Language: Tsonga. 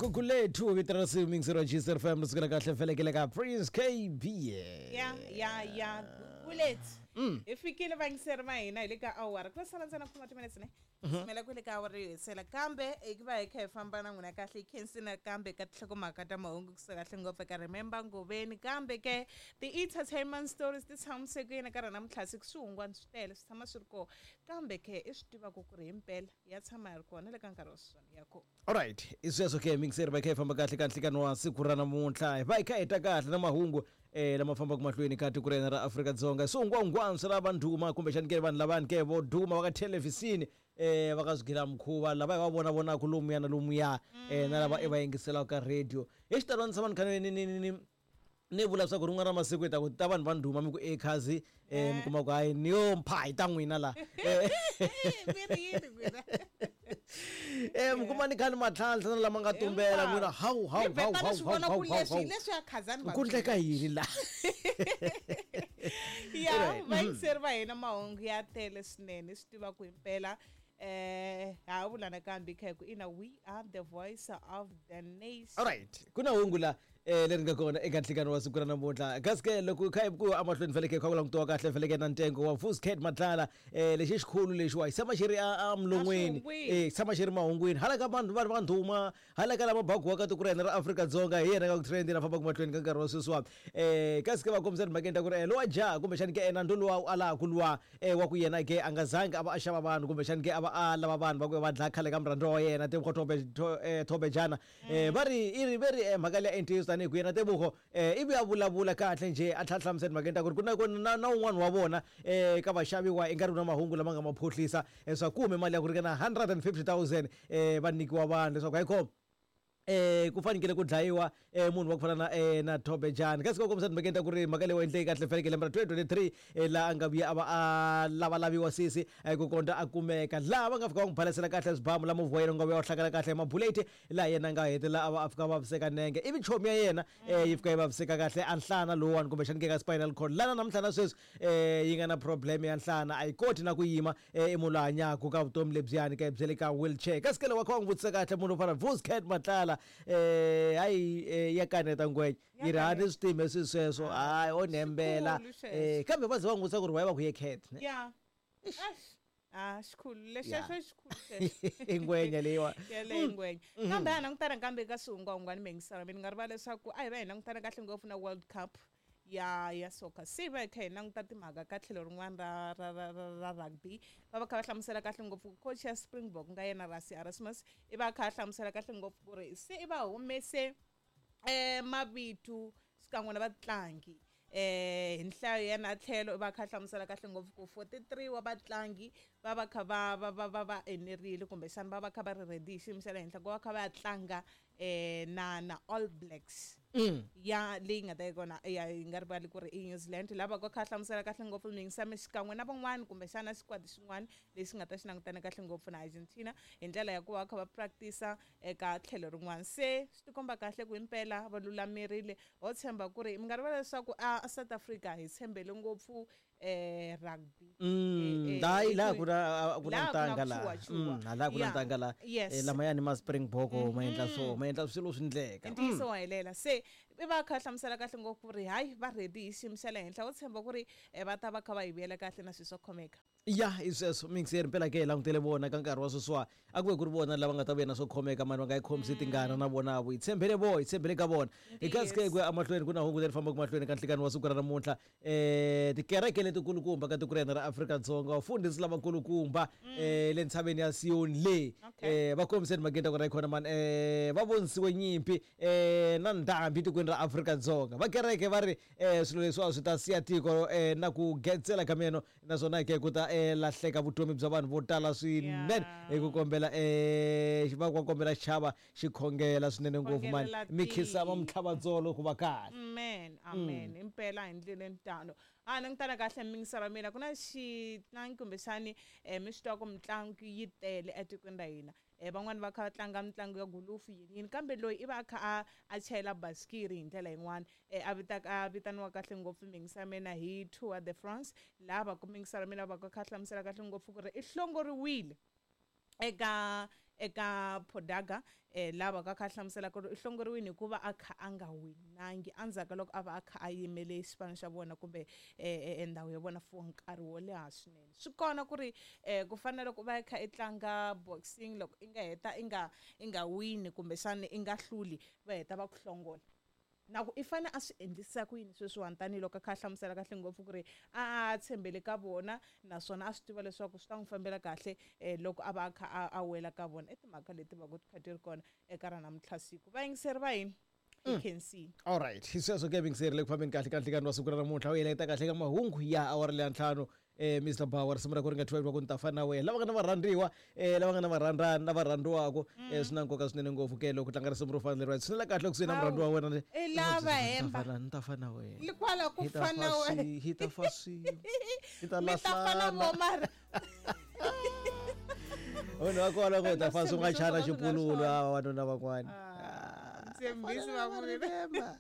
Gugulethu vito ra risimu mixer wa GCR FM ri sukela kahle felekele ka Prince KB. Ya ya ya, Gugulethu. Hi fikile vayingiseri va hina, hi le ka awara ku sala ntsena khoma timinetse ne simela ku le ka awara yo hetisela, kambe hi ku va hi kha hi famba na n'wina kahle hi khensini kambe ka tinhlokomhaka ta mahungu kusuka kahle ngopfu eka Remember Ngoveni, kambe ke ti-entertainment stories ti tshamiseke yini ka rona namuntlha siku swihungwani swi tele swi tshama swi ri kona, kambe ke i swi tivaka ku ri himpela ya tshama ya ri kona le ka nkarhi wa sweswiwani ya kona. Alright, i sweswo ke mixer va kha hi famba kahle ka nhlikani wa siku ra namuntlha, hi va hi kha hi ta kahle na mahungu lama fambaka mahlweni ka tiko ra hina ra Afrika-Dzonga. Swihungwahungwani swi lava ndhuma kumbexani ke vanhu lavani ke vo duma va ka thelevhixini va ka swigila mukhuva lava hi va vona vonaka lomuya na lomuya na lava i va yingiselaka ka radio hi xitalo. Ni tshama ni kha ni ni ni ni ni vula swa ku rin'wana ra masiku hi ta ku ta vanhu va ndhuma mi ku e khazi mi kuma ku hayi ni yo mpha hi ta n'wina la. Mi ri yini n'wina? Mi kuma ni kha ni matlhantlha na lama nga tumbela n'wina, hawu hawu Mi hawu vheta hawu ni swi vona hawu ku hawu leswi hi hawu leswi ya khazani va ku ndleka yini la? Ya. Right. Vayingiseri va hina, mahungu ya tele swinene, swi tiva ku himpela ha vula nakambe kha hi ku ina, we are the voice of the nation. Alright, ku na hungu la leri nga kona eka nhlikano wa siku ra namuntlha, kasi ke loko kha hi ku emahlweni feleke kha ku langutiwa kahle feleke na ntengo wa Vuscat Matlala lexi xikhulu lexiwa xi tshama xi ri a milon'weni. Aswihungwini. Xi tshama xi ri mahungwini hala ka vanhu vanhu va ndhuma, hala ka lava bagiwaka tiko ra hina ra Afrika-Dzonga, hi yena ka ku trendini a fambaka mahlweni ka nkarhi wa sweswiwa. Kasi ke va kombisa timhakeni ta ku ri lowa jaha kumbexani ke nandzu luwa u alaku luwa wa ku yena ke a nga zangi a va a xava vanhu kumbexani ke a va a lava vanhu va ku va dlaya khale ka murhandziwa wa yena Tebogo Thobejana. Va ri i ri ve ri mhaka leya i ntiyiso, tanihi ku yena Tebogo ivi a vulavula kahle njhe, a tlhela a hlamusela timhakeni ta ku ri ku na ku na na un'wana wa vona ka vaxaviwa i nga ri ku na mahungu lama nga ma phohlisa leswaku ku hume mali ya ku ringana 150,000 va nyikiwa vanhu leswaku hayikhona ku fanekele ku dlayiwa munhu wa ku fana na na Thobejane. Kasi ko kombisa timhakeni ta ku ri mhaka leyi endleki kahle fanekele lembe ra 2023 laha a nga vuya a va a lavalaviwa sesi ku kondza a kumeka, laha va nga fika va n'wi balesela kahle swibamu, la movha wa yena wu nga vuya wu hlakala kahle hi mabuleti, laha yena a nga hetelela a va a fika a vaviseka nenge ivi chomi ya yena yi fika yi vaviseka kahle a nhlana lowuwani kumbexani ke ka spinal cord, lana namuntlha na sweswi yi nga na problem ya nhlana, a yi koti na ku yima. I munhu loyi hanyaka ka vutomi lebyiyani ka bya le ka wheelchair. Kasi ke loko va kha va n'wi vutisa kahle munhu wo fana Vuscat Matlala, hayi ya kaneta ngwenya, yi ri ha ni swi tivi swi sweswo, hayi o nembela. Xikhulu xexo. Kambe va ze va n'wi vutisa ku ri why va ku ye cat ne? Ya. Eish. Ah, xikhulu lexexo. Xikhulu xexo. I ngwenya leyiwa. Yeleyo ngwenya, kambe a langutana kambe ka swihungwahungwani mengisana mi ni nga rivala leswaku a hi va hi langutana kahle ngopfu na World Cup ya soccer, se hi va hi kha hi languta timhaka ka tlhelo rin'wana ra rugby, va va kha va hlamusela kahle ngopfu coach ya Springbok nga yena Rassie Erasmus, i va kha a hlamusela kahle ngopfu ku ri se i va humese mavito xikan'we na vatlangi hi nhlayo ya na tlhelo i va kha a hlamusela kahle ngopfu ku 43 wa vatlangi va va kha va enerile kumbexana va va kha va ri ready hi xiyimo xa le henhla ku va kha va ya tlanga na All Blacks ya leyi nga ta yi kona ya yi nga rivali ku ri i New Zealand, lava ka kha hlamusela kahle ngopfu miyingisami xikan'we na van'wani kumbexana xikwadi xin'wana lexi nga ta xi langutana kahle ngopfu na Argentina hi ndlela ya ku va kha va practice eka tlhelo rin'wana. Se swi tikomba kahle ku himpela va lulamerile, ho tshemba ku ri mi nga rivala leswaku a South Africa hi tshembele ngopfu rugby. Hayi, laha ku na ku na Laha ku na ntanga laha. chuwa-chuwa. Laha ku na ntanga laha. Lamayani ma Springbok ma endla swo ma endla swilo swi ndleka. Ntiyiso wa helela, se i va kha hlamusela kahle ngopfu ku ri hayi va ready hi xiyimo xa le henhla, wo tshemba ku ri va ta va kha va hi vuyela kahle na swilo swo khomeka. Ya, i sweswo mixer mpela ke hi langutele vona ka nkarhi wa sweswiwa, a ku ve ku ri vona lava nga ta vuya na swo khomeka mani, va nga yi khomisi tingana na vona vo hi tshembele vo hi tshembele ka vona. Hi kasi ke ku ya emahlweni ku na hungu leri fambaka mahlweni ka nhlikani wa siku ra namuntlha. Tikereke letikulukumba ka tiko ra hina ra Afrika-Dzonga, vafundhisi lavakulukumba le ntshaveni ya Siyoni le va kombise timhakeni ta ku ra yi khona mani, va vonisiwe nyimpi na ndhambi tikweni ra Afrika-Dzonga. Va kereke va ri swilo leswiwa swi ta siya tiko na ku getsela ka meno, naswona ke ku ta lahleka vutomi bya vanhu vo tala swinene. Hi ku kombela va va kombela xichava xi khongela swinene ngopfu mani, Khongelela mi khinsama tiko. mitlhavatsolo ku va kahle. Amen, amen. Impela hi ndleleni tano a langutana kahle miyingiselo wa mina, ku na xitlangi kumbexani mi swi tiva ku mitlangu yi tele etikweni ra hina. Van'wani va kha va tlanga mitlangu ya gulufu yini yini, kambe loyi i va a kha a chayela basikiri hi ndlela yin'wana a vitaka a vitaniwa kahle ngopfu miyingiselo ya mina hi Tour de France, laha va ku miyingiselo ya mina va ka kha hlamusela kahle ngopfu ku ri i hlongoriwile eka Eka Podaga lava ka kha hlamusela ku ri u hlongoriwile hikuva a kha a nga winangi endzhaku ka loko a va a kha a yimele xipano xa vona kumbe ndhawu ya vona for nkarhi wo leha swinene. Swi kona ku ri ku fana na loko va kha i tlanga boxing, loko i nga heta i nga wini kumbexana i nga hluli, va heta va ku hlongola. Na ku i fane a swi endlisa ku yini sweswiwani, tanihiloko a kha a hlamusela kahle ngopfu ku ri a tshembele ka vona, naswona a swi tiva leswaku swi ta n'wi fambela kahle loko a va a kha a wela ka vona. I timhaka leti va ku ti kha ti ri kona eka ra namuntlha siku. Vayingiseri va hina, hi khensile. Alright, hi sweswo ke, yingiseri le ku fambeni kahle ka nhlikani wa siku ra namuntlha. U heleketa kahle ka mahungu ya awara leya 5, Mr Bawa, risimu ra ku ri nga 12 va ku ni ta fana na wena. Lava nga na varhandziwa, lava nga na varhandzani, lava rhandziwaka, swi na nkoka swinene ngopfu ke loko tlanga risimu ro fana leriwa, tshinela kahle kusuhi na murhandziwa wa wena. I lava hemba. Ni ta fana na wena. Kwala ku Hi ta fana fa wena. Hi ta fa swin'we, hi ta Mi ta fana lahlana. vo mara. Vanhu va kona ku hi ta fa swi nga Switshembiso chana swo ka swi nga ri xipululu swona. ava vanuna van'wana. Ntshembisi va vurile. Remember.